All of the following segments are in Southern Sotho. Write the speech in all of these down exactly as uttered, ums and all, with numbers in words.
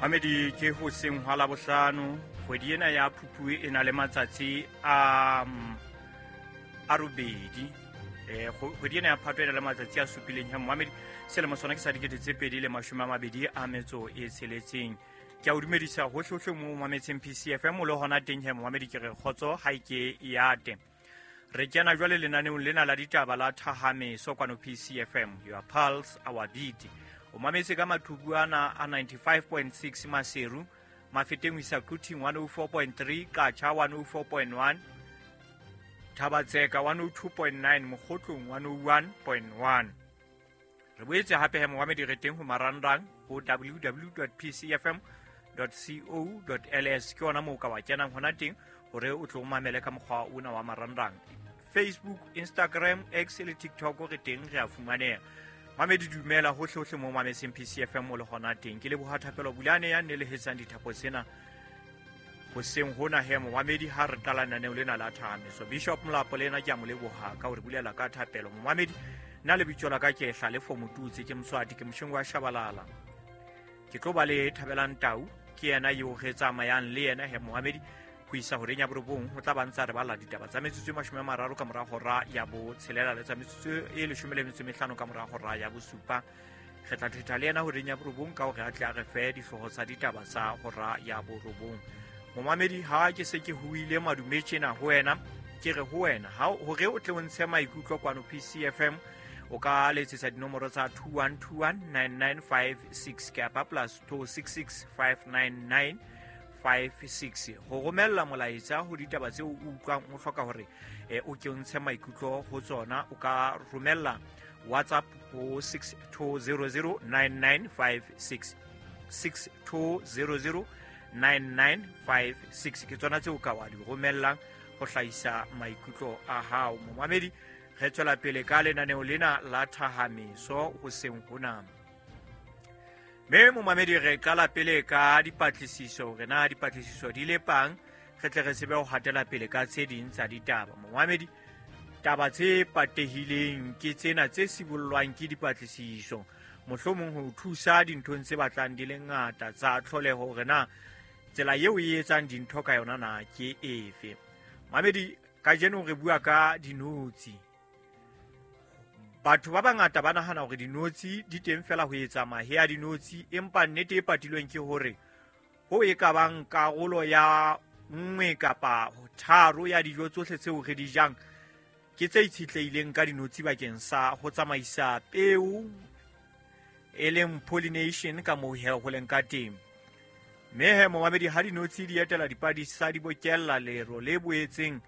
Mamedi ke hoseng hwa Labohlano, kgwedi ena ya Phupjane e na le matsatsi a a robedi. Eh kgwedi ena ya Phato e na le matsatsi a supileng. Ha Mamedi selemo sona ke sa dikete tse pedi le mashome a mabedi a metso e tsheletseng. Ke a o dumedisa hohle hohle mo mametseng P C F M o le hona teng. He Mamedi ke re kgotso ha ke ya te. Re kena jwale lenaneong lena la ditaba la Thahameso kwano P C F M, your pulse our beat. O mametse ka mathubu ana a ninety-five point six Maseru, Mafeteng ho isa Quthing one oh four point three, Qacha one oh four point one, Thabatseka one oh two point nine, Mokgotlong one oh one point one. Re boetse hape he Mohamedi re teng ho marangrang ho w w w dot p c f m dot co dot l s. Ke hona moo ka wa kenang hona teng hore o tlo mamele ka mokgwa ona wa marangrang. Facebook, Instagram, X le TikTok re teng re a fumaneha. Mamedi dumela hohle hohle mo mametseng P C F M o le hona teng. Ke leboha Thapelo Bulane ya nelehetsang dithapo tsena hoseng hona he Momamedi ha re qala lenaneo lena la Thahameso. Bishop Molapo le yena ke a mo leboha ka hore bulela ka thapelo. Momamedi nna lebitso la ka ke Hlalefo Motutse, ke Moswati, ke Mosheng wa Shabalala. Ke tlo ba le Thabelang Tau, ke yena eo re tsamayang le yena he Momamedi ho isa horeng ya borobong ho tla ba ntsa re bala ditaba tsa metsotso e mashome a mararo ka mora hora ya botshelela le tsa metsotso e leshome le metso e mehlano ka mora hora ya bosupa. Re tla thetha le yena horeng ya borobong ka hore a tle a re fe dihlooho tsa ditaba tsa hora ya borobong. Momamedi ha ke se ke huile madume tjena ho wena, ke re ho wena ha hore o tle o ntshe maikutlo kwano P C F M o ka letsetsa dinomoro tsa two one two one nine nine five six kapa plus two six six five nine nine five six ho romella molaetsa ho ditaba tseo o utlwang o hloka hore o ke o ntshe maikutlo ho tsona. O ka romella WhatsApp ho six two zero zero nine nine five six, six two zero zero nine nine five six ke tsona tseo ka wa di romellang ho hlahisa maikutlo a hao. Momamedi re tswela pele ka lenaneo lena la Thahameso hoseng hona. Mme momamedi re qala pele ka dipatlisiso, hore na dipatlisiso di lepang, re tle re tsebe ho hatela pele ka tse ding tsa ditaba. Momamedi taba tse patehileng ke tsena tse sibollwang ke dipatlisiso, mohlomong ho thusa dinthong tse batlang di le ngata tsa tlholeho hore na tsela eo e etsang dintho ka yona na ke efe. Mamedi kajeno re bua ka dinotshi. Batho ba bangata ba nahana hore dinotshi di teng fela ho etsa mahe a dinotshi, empa nnete e patilweng ke hore ho e ka bang karolo ya nngwe kapa tharo ya dijo tsohle tseo re di jang ke tse itshetlehileng ka dinotshi bakeng sa ho tsamaisa peo, e leng pollination ka moo ho leng ka teng. Mme he momamedi ha dinotshi di etela dipadisa di bokella lero le boetseng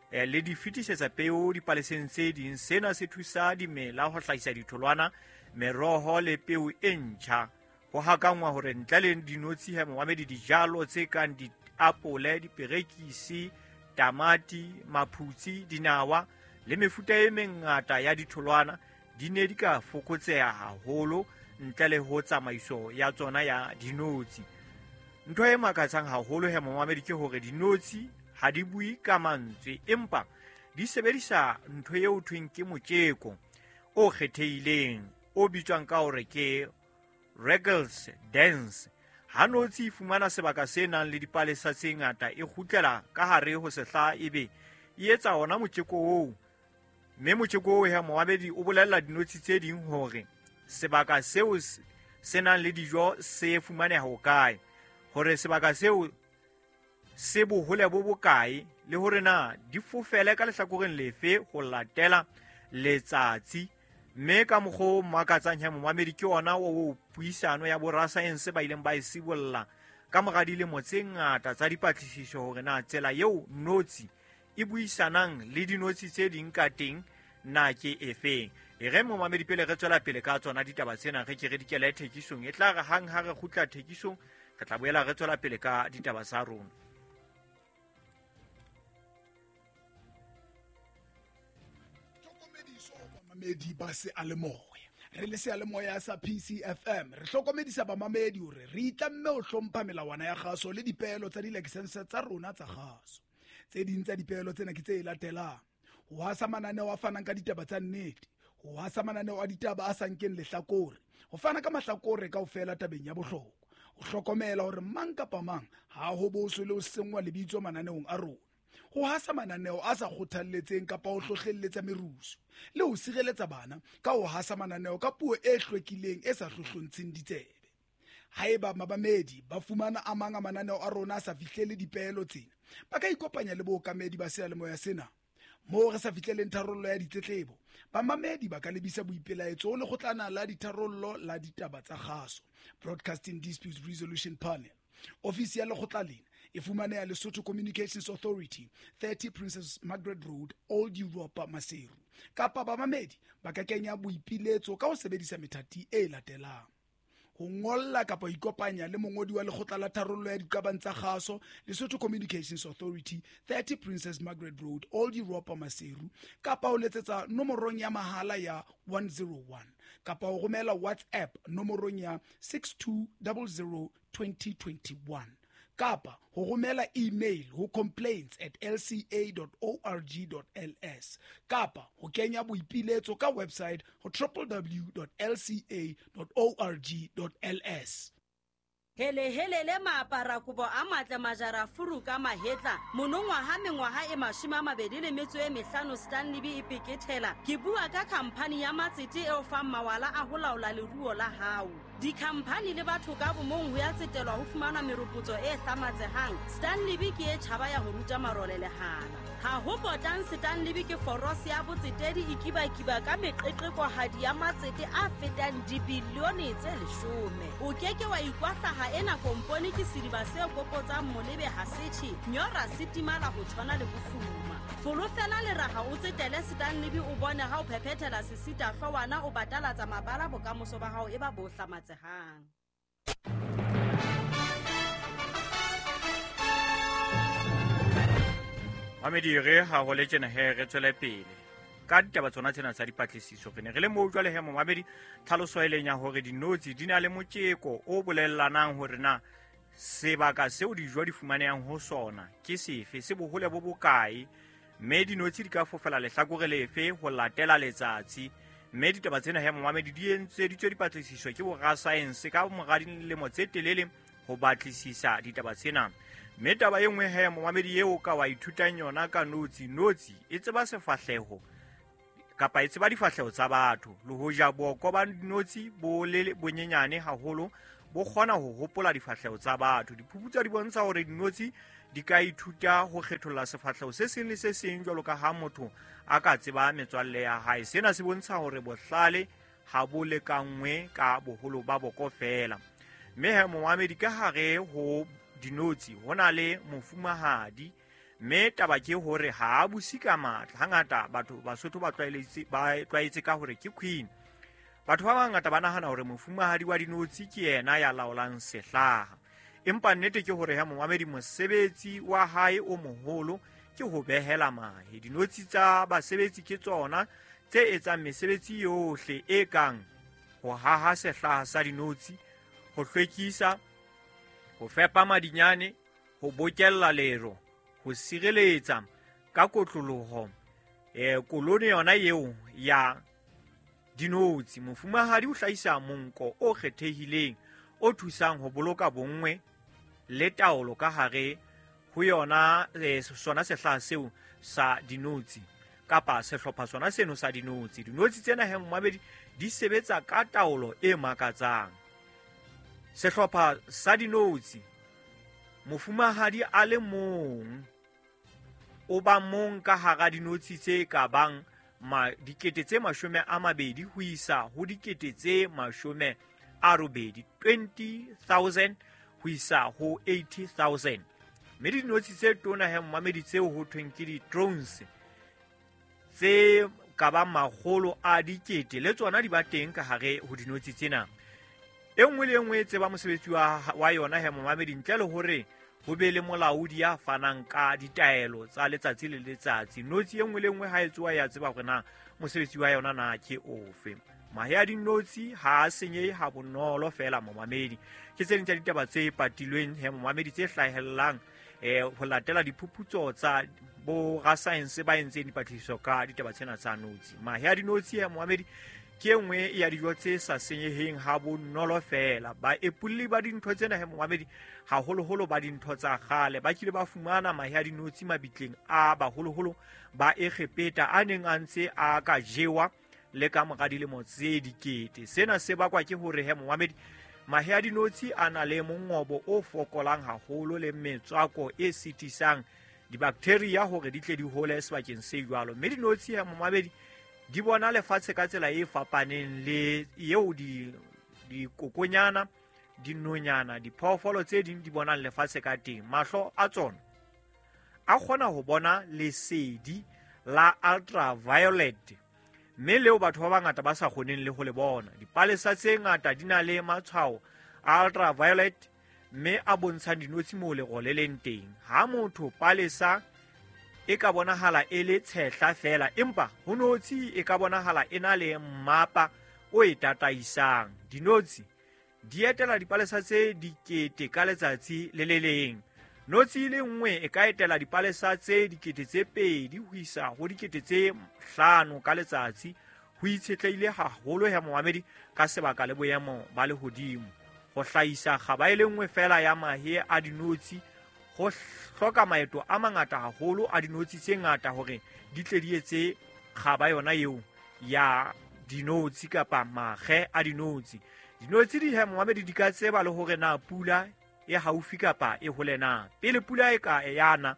le di fetisetsa peo dipaleseng tse ding. Sena se thusa dimela ho hlahisa ditholwana, meroho le peo e ntjha. Ho hakangwa hore ntle le dinotshi he momamedi dijalo tse kang diapole, diperekisi, tamati, maphutsi, dinawa le mefuta e mengata ya ditholwana di ne di ka fokotseha haholo ntle le ho tsamaiso ya tsona ya dinotshi. Ntho e makatsang haholo he momamedi ke hore dinotshi ha di bue ka mantswe, empa di sebedisa ntho eo thweng ke motjeko o kgethehileng o bitswang ka hore ke Regals dance. Ha notshi e fumana sebaka se nang le dipalesa tse ngata, e kgutlela ka hare ho sehla ebe e etsa ona motjeko oo. Mme motjeko oo he momamedi o bolella dinotshi tse ding hore sebaka seo se nang le dijo se fumaneha hokae, hore sebaka seo se bohole bo bokae, le hore na di fofele ka lehlakoreng lefe ho latela letsatsi. Mme ka mokgwa o makatsang he momamedi ke ona o puisano ya borasaense ba ileng ba e sibolla ka mora dilemo tse ngata tsa dipatlisiso hore na tsela eo notshi e buisanang le dinotshi tse ding ka teng na ke efeng. E re momamedi pele re tswela pele ka tsona ditaba tsena, re ke re dikele thekisong. E tla re hang ha re kgutla thekisong re tla boela re tswela pele ka ditaba tsa rona. Bamamedi ba seyalemoya, re le seyalemoya sa P C F M re hlokomedisa bamamedi hore re itlamme ho hlompha melawana ya kgaso le dipeelo tsa dilakesense tsa rona tsa kgaso. Tse ding tsa dipeelo tsena ke tse latelang: ho hasa mananeo a fanang ka ditaba tsa nnete, ho hasa mananeo a ditaba a sa nkeng lehlakore, ho fana ka mahlakore kaofela tabeng ya bohlokwa, Ho hlokomela hore mang kapa mang ha ho boswe le ho senngwa lebitso mananeong a rona, ho hasa mananeo a sa kgothalletseng kapa ho hlohlelletsa merusu, le ho sireletsa bana ka ho hasa mananeo ka puo e hlwekileng e sa hlohlontsheng ditsebe. Haeba mamamedi ba fumana a mang a mananeo a rona a sa fihlele dipeelo tsena, ba ka ikopanya le bookamedi ba seyalemoya sena. Moo re sa fihleleng tharollo ya ditletlebo, bamamedi ba ka lebisa boipelaetso ho lekgotlana la ditharollo la ditaba tsa kgaso, Broadcasting Disputes Resolution Panel. Ofisi ya lekgotla lena e fumaneha Lesotho Communications Authority, thirty Princess Margaret Road, Old Europa, Maseru. Kapa bamamedi ba ka kenya boipiletso ka ho sebedisa methati e latelang: ho ngolla kapa ho ikopanya le mongodi wa lekgotla la tharollo ya diqabang tsa kgaso, Lesotho Communications Authority, thirty Princess Margaret Road, Old Europa, Maseru, kapa ho letsetsa nomorong ya mahala ya one zero one, kapa ho romela WhatsApp nomorong ya six two zero zero twenty twenty-one, kapa ho romela email ho complaints at l c a dot org dot l s, kapa ho kenya boipiletso ka website ho w w w dot l c a dot org dot l s. Hele hele le maapara kobo a matle majara furu ka mahetla monongwaha mengwaha e mashome a mabedi le metso e mehlano Stanley B e pekethela. Ke bua ka khamphani ya matsete eo fang mawala a ho laola leruo la hao. Dikhamphani le batho ka bomong ho ya tsetelwa ho fumana meropotso e hlamatsehang. Stanley B ke e tjhaba ya ho ruta marole lehala. Ha ho potang Stanley B ke forose ya botsetedi e kibakiba ka meqeqekohadi ya matsete a fetang dibilione tse leshome. O keke wa ikwahlaha ena kompone ke sediba se kopotsang molebe ha setjhe, nyora se timala ho tshwana le bofuma. Folofela leraha o tsetele Stanley B o bone ha o phephethela sesita hloohwana o batalatsa mabala bokamoso ba hao e ba bo hlamatsehang. Mamedi re ha ho le tjena he re tswele pele ka ditaba tsona tsena tsa dipatlisiso. Re ne re le moo jwale he momamedi tlhaloso e leng ya hore dinotshi di na le motjeko o bolellanang hore na sebaka seo dijo di fumanehang ho sona ke sefe, se bohole bo bokae, mme dinotshi di ka fofela lehlakore lefe ho latela letsatsi. Mme ditaba tsena he momamedi di entseditswe dipatlisiso ke borasaense ka mora dilemo tse telele ho batlisisa ditaba tsena. Mme taba e nngwe he momamedi eo ka wa ithutang yona ka notshi, notshi e tseba sefahleho kapa e tseba difahleho tsa batho. Le hoja boko ba dinotshi bo le bonyenyane haholo, bo kgona ho hopola difahleho tsa batho. Diphuputso di bontsha hore dinotshi di ka ithuta ho kgetholla sefahleho se seng le se seng jwalo ka ha motho a ka tseba metswalle ya hae. Sena se bontsha hore bohlale ha bo lekangwe ka boholo ba boko feela. Mme he momamedi ka hare ho dinotshi ho na le mofumahadi, mme taba ke hore ha a buse ka matla. Hangata batho Basotho ba tlwaeletse ba tlwaetse ka hore ke queen. Batho ba bangata ba nahana hore mofumahadi wa dinotshi ke yena ya laolang sehlaha, empa nnete ke hore ha momamedi mosebetsi wa hae o moholo ke ho behela mahe. Dinotshi tsa basebetsi ke tsona tse etsang mesebetsi yohle e kang ho haha sehlaha sa dinotshi, ho hlwekisa, ho fepa madinyane, ho bokella lero, ho sireletsa ka kotloloho eh kolone yona eo ya dinotshi. Mofumahadi o hlahisa monko o kgethehileng o thusang ho boloka bonngwe le taolo ka hare ho yona eh, sona sehlaha seo sa dinotshi kapa sehlopha sona seno sa dinotshi. Dinotshi tsena he momamedi di sebetsa ka taolo e makatsang. Sehlopha sa dinotshi, mofumahadi a le mong o ba mong ka hara dinotshi tse ka bang ma dikete tse mashome a mabedi ho isa ho dikete tse mashome a robedi, twenty thousand ho isa ho eighty thousand. Mme dinotshi tse tona he momamedi tseo ho thweng ke di-drones tse ka bang makgolo a dikete le tsona di ba teng ka hare ho dinotshi tsena. E nngwe le e nngwe e tseba mosebetsi wa, wa yona he momamedi, ntle le hore ho be le molaodi ya fanang ka ditaelo tsa letsatsi le letsatsi. Notshi e nngwe le nngwe ha e tsoha ya tseba hore na mosebetsi wa yona na ke ofe. Mahe a dinotshi ha a senyehe ha bonolo feela momamedi. Ke tse ding tsa ditaba tse patilweng he momamedi tse hlahellang eh ho latela diphuputso tsa bo rasaense ba entseng dipatlisiso ka ditaba tsena tsa notshi. Mahe a dinotshi he momamedi ke e nngwe ya dijo tse sa senyeheng ha bonolo feela. Baepolli ba dintho tsena he momamedi, haholoholo ba dintho tsa kgale, ba kile ba fumana mahe a dinotshi mabitleng a baholoholo ba Egepeta a neng a ntse a ka jewa le ka mora dilemo tse dikete. Sena se bakwa ke hore he momamedi, mahe a dinotshi a na le mongobo o fokolang haholo le metswako e sitisang dibaktheria hore di tle di hole sebakeng se jwalo. Mme dinotshi he momamedi di bona lefatshe ka tsela e fapaneng le eo di dikokonyana, dinonyana, diphoofolo tse ding di bonang lefatshe ka teng. Mahlo a tsona a kgona ho bona lesedi la ultraviolet, mme leo batho ba bangata ba sa kgoneng le ho le bona. Dipalesa tse ngata di na le matshwao a ultraviolet, mme a bontshang dinotshi moo lerole le leng teng. Ha motho palesa e ka bonahala e le tshehla feela, empa ho notshi e ka bonahala e na le mmapa o e tataisang. Dinotshi di etela dipalesa tse dikete ka letsatsi le le leng. Notshi e le nngwe e ka etela dipalesa tse dikete tse pedi ho isa ho dikete tse hlano ka letsatsi, ho itshetlehile haholo he momamedi ka sebaka le boemo ba lehodimo. Ho hlahisa kgaba e le nngwe feela ya mahe a dinotshi ho hloka maeto a mangata haholo a dinotshi tse ngata hore di tle di etse kgaba yona eo ya dinotshi kapa mahe a dinotshi. Dinotshi di he momamedi di ka tseba le hore na pula e haufi kapa e hole na. Pele pula e ka yana,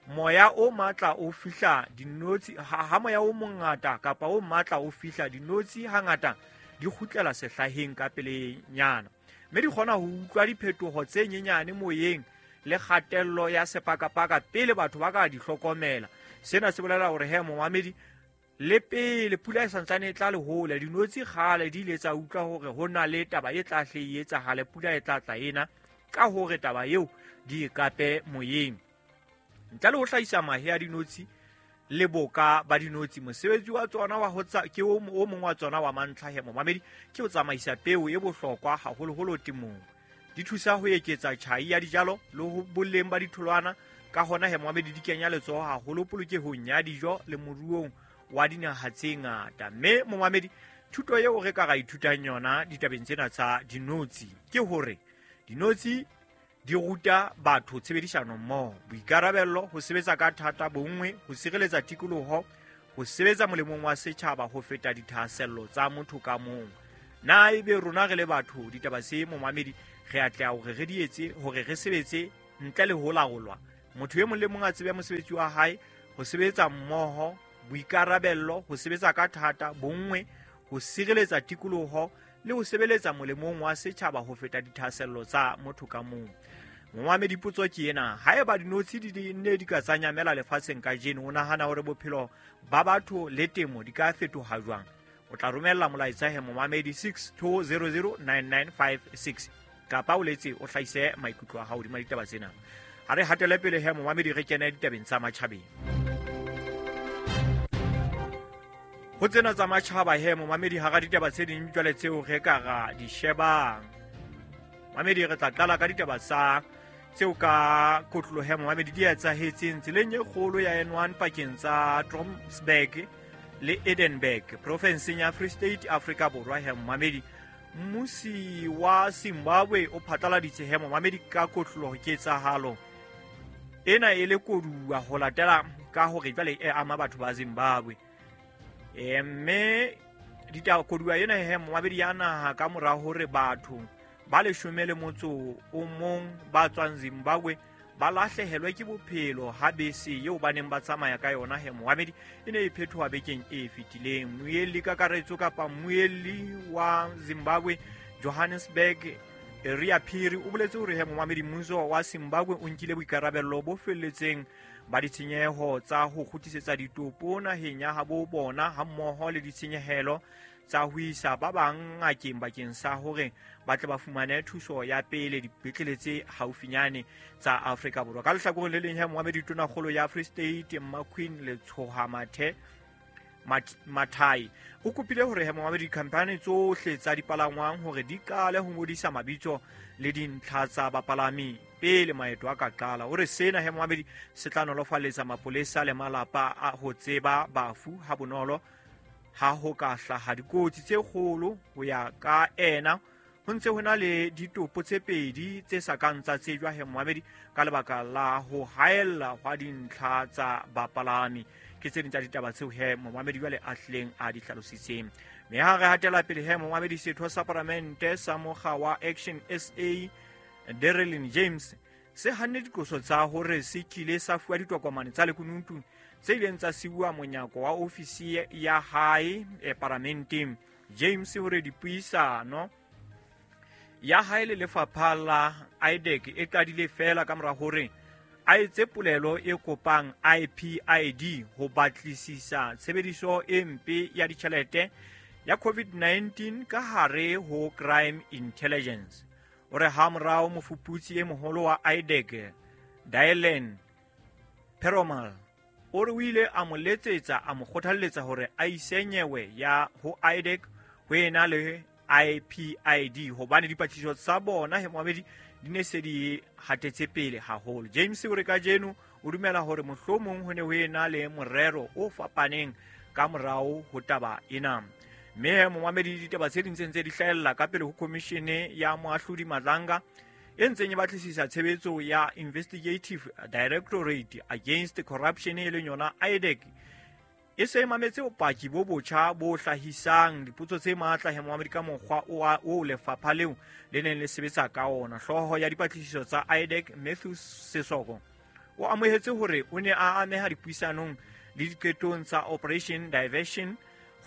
moya o matla o fihla dinotshi, ha, ha moya o mongata kapa o matla o fihla dinotshi hangata di kgutlela sehlaheng ka pelenyana, mme di kgona ho utlwa diphetoho tse nyenyane moyeng le kgatello ya sepakapaka pele batho ba ka di hlokomela. Sena se bolela hore he momamedi, le pele pula e santsane e tla le hole, dinotshi kgale di ile tsa utlwa hore ho na le taba e tla hle e etsahale, pula e tla tla ena, ka hore taba eo di e kape moyeng. Ntle le ho hlahisa mahe a dinotshi le boka ba dinotshi, mosebetsi wa tsona wa ho tsa ke o mong wa tsona wa mantlha he momamedi, ke ho tsamaisa peo e bohlokwa haholoholo temong. Di thusa ho eketsa tjhai ya dijalo le ho boleng ba ditholwana, ka hona he momamedi di kenya letsoho haholo polokehong ya dijo le moruong wa dinaha tse ngata. Mme momamedi, thuto eo re ka ra ithutang yona ditabeng tsena tsa dinotshi ke hore dinotshi di ruta batho tshebedisano mmoho, boikarabello, ho sebetsa ka thata, bonngwe, ho sireletsa tikoloho, ho sebetsa molemong wa setjhaba ho feta dithahasello tsa motho ka mong. Na ebe rona re le batho ditaba se momamedi re atleha hore re di etse, hore re sebetse ntle le ho laolwa? Motho e mong le mong a tsebe mosebetsi wa hae, ho sebetsa mmoho, boikarabello, ho sebetsa ka thata, bonngwe, ho sireletsa tikoloho le ho sebeletsa molemong wa setjhaba ho feta dithahasello tsa motho ka mong. Momamedi, potso ke ena: haeba dinotshi di ne di ka tsa nyamela lefatsheng kajeno, o nahana hore bophelo ba batho le temo di ka fetoha jwang? O tla romella molaetsa he momamedi six two zero zero nine nine five six kapa o letse o hlahise maikutlo a hao hodima ditaba tsena. Ha re hatele pele he momamedi, re kene ditabeng tsa matjhabeng. Ho tsena tsa matjhaba he momamedi, hara ditaba tse ding jwale tseo re ka ra di shebang, mamedi, re tla qala ka ditaba tsa tseo ka kotloloho he momamedi di etsahetseng tseleng e kgolo ya N one pakeng tsa Trompsburg le Edenburg profinseng ya Free State, Afrika Borwa. He momamedi, mmusi wa Zimbabwe o phatlaladitse he momamedi ka kotloloho ketsahalo ena e le koduwa ho latela ka hore jwale e ama batho ba Zimbabwe. E mme ditaba koduwa ena he momamedi ya naha ka mora hore batho ba leshome le motso o mong ba tswang Zimbabwe ba lahlehelwe ke bophelo ha bese eo ba neng ba tsamaya ka yona he momamedi e ne e phethoha bekeng e fetileng. Mmuelli kakaretso kapa mmuelli wa Zimbabwe Johannesburg Ria Phiri o boletse hore he momamedi mmuso wa Zimbabwe o nkile boikarabello bo felletseng ba ditshenyeho tsa ho kgutlisetsa ditopo naheng ya habo bona hammoho le ditshenyehelo tsa ho isa ba bang ngakeng bakeng sa hore ba tle ba fumane thuso ya pele dipetlele tse haufinyane tsa Afrika Borwa. Ka lehlakoreng le leng he momamedi, tonakgolo ya Free State Mmaqueen Letshoha Mathe Mathai o kopile hore he momamedi dikhamphani tsohle tsa dipalangwang hore di qale ho ngodisa mabitso le dintlha tsa bapalami pele maeto a ka qala. O re sena he momamedi se tla nolofaletsa mapolesa le malapa a ho tseba bafu ha bonolo Ha ho ka hlaha dikotsi tse kgolo ho ya ka ena ho ntse ho na le ditopo tse pedi tse sa kang tsa tsejwa he momamedi ka lebaka la ho haella hwa dintlha tsa bapalami. Ke tse ding tsa ditaba tseo he momamedi jwale a hlileng a di hlalositseng. Mme ha re hatela pele he momamedi, setho sa palamente sa mokga wa Action S A Derelyn James se hanne diqoso tsa hore se kile sa fuwa ditokomane tsa lekunutu tse ileng tsa siuwa monyako wa ofisi ya hae e paramenteng. James hore dipuisano ya hae le lefapha la I D E C e qadile fela ka mora hore a etse polelo e kopang I P I D ho batlisisa tshebediso e mpe ya ditjhelete ya COVID nineteen ka hare ho Crime Intelligence. O re ha morao mofuputsi e moholo wa I D E C Dylan Peromal o re o ile a mo letsetsa a mo kgothalletsa hore a ise nyewe ya ho I D E C ho ena le I P I D hobane dipatlisiso tsa bona he momamedi di ne se di hatetse pele haholo. James o re kajeno o dumela hore mohlomong ho ne ho ena le morero o fapaneng ka morao ho taba ena. Mme momamedi, ditaba tse ding tse ntse di hlahella ka pele ho komishene ya moahlodi Madlanga e ntseng e batlisisa tshebetso ya Investigative Directorate Against Corruption e leng yona I D E C e se mametse bopaki bo botjha bo hlahisang dipotso tse matla he momamedi ka mokgwa o lefapha leo le neng le sebetsa ka ona. Hlooho ya dipatlisiso tsa I D E C Matthew Sesoko o amohetse hore o ne a ameha dipuisanong le diqetong tsa Operation Diversion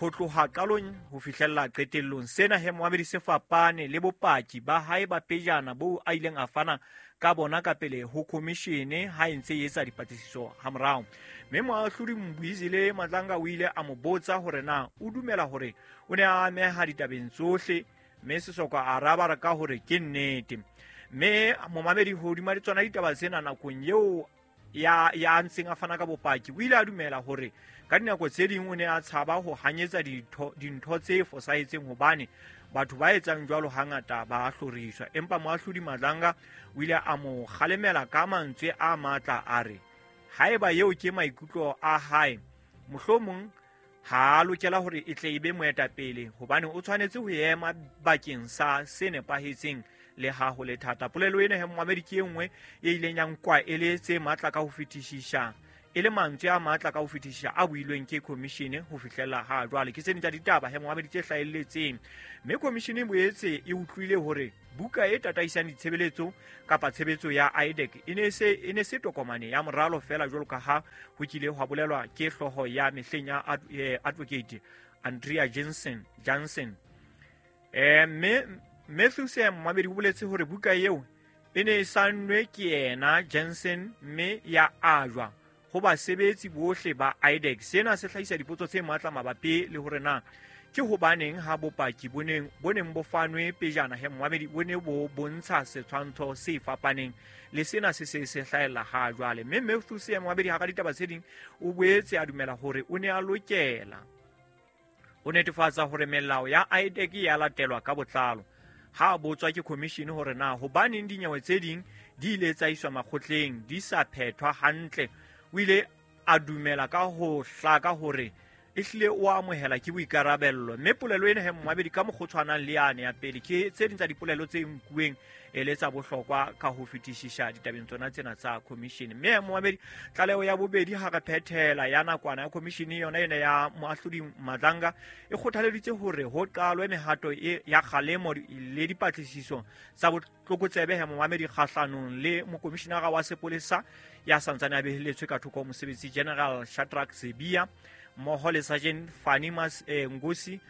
ho tloha qalong ho fihlella qetellong. Sena he momamedi se fapane le bopaki ba hae ba pejana bo a ileng a fana ka bona ka pele ho komishene ha e ntse e etsa dipatlisiso hamorao. Mme moahlodi Mbuyisile Madlanga o ile a mo botsa hore na o dumela hore o ne a ameha ditabeng tsohle, mme Sesoko a araba ka hore ke nnete. Mme momamedi, hodima tsona ditaba tsena nakong eo ya ya ntseng a fana ka bopaki o ile a dumela hore ka dinako tse ding o ne a tshaba ho hanyetsa dintho dintho tse fosahetseng hobane batho ba etsang jwalo hangata ba hloriswa. Empa moahlodi Madlanga o ile a mo kgalemela ka mantswe a matla a re haeba eo ke maikutlo a hae, mohlomong ha a lokela hore e tle e be moetapele hobane o tshwanetse ho ema bakeng sa se nepahetseng le ha ho le thata. Polelo ena he momamedi ke e nngwe e ileng ya nkwa e le tse matla ka ho fetisisa, e le mantswe a matla ka ho fetisisa a builweng ke komishene ho fihlela ha jwale. Ke tse ding tsa ditaba he momamedi tse hlahelletseng. Mme komishene e boetse e utlwile hore buka e tataisang ditshebeletso kapa tshebetso ya I D E C e ne se e ne se tokomane ya moralo fela jwalo ka ha ho kile hwa bolelwa ke hlooho ya mehleng ya Advocate Andrea Jensen Jansen. Eh mme Matthew Sam momamedi o boletse hore buka eo e ne e sannwe ke yena Jensen mme ya ajwa ho basebetsi bohle ba I D E C. Sena se hlahisa dipotso tse matla mabapi le hore na ke hobaneng ha bopaki bo neng bo neng bo fanwe pejana he momamedi bo ne bo bontsha setshwantsho se fapaneng le sena se se se hlahella ha jwale. Mme Matthew Sam momamedi ha ka ditaba tse ding o boetse a dumela hore o ne a lokela ho netefatsa hore melao ya I D E C ya latelwa ka botlalo. Ha botswa ke commission hore na hobaneng dinyewe tse ding di ile tsa iswa makgotleng di sa phethwa hantle, o ile a dumela ka ho hlaka hore e hlile o amohela ke boikarabello. Mme polelo ena he momamedi ka mokgwa o tshwanang le yane ya pele ke tse ding tsa dipolelo tse nkuweng e le tsa bohlokwa ka ho fetisisa ditabeng tsona tsena tsa commission. Mme momamedi, tlaleho ya bobedi ha re phethela ya nakwana ya commission yona ena ya moahlodi Madlanga e kgothaleditse hore ho qalwe mehato e ya kgalemo le dipatlisiso tsa botlokotsebe he momamedi kgahlanong le mokomishinara wa sepolesa ya santsane a beheletswe ka thoko mosebetsi General Shadrack Sibiya mmoho le Sergeant Fanny Mas eh, Ngosi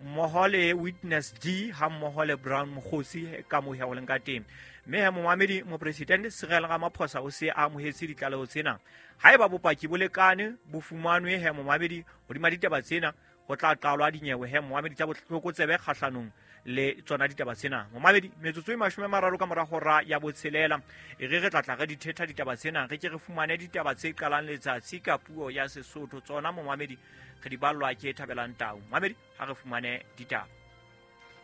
mmoho le Witness D ha mmoho le Brown Mokgosi ka mo ho leng ka teng. Mme he momamedi, mopresidente Cyril Ramaphosa o se a amohetse ditlaleho tsena. Haeba bopaki bo lekane bo fumanwe he momamedi hodima ditaba tsena, ho tla qalwa dinyewe he momamedi tsa botlokotsebe kgahlanong le tsona ditaba tsena. Momamedi, metsotso e mashome a mararo ka mora hora ya botshelela e re re tla tla re di thetha ditaba tsena, re ke re fumane ditaba tse qalang letsatsi ka puo ya Sesotho. Tsona momamedi re di ballwa ke Thabelang Tau. Momamedi, ha re fumane ditaba.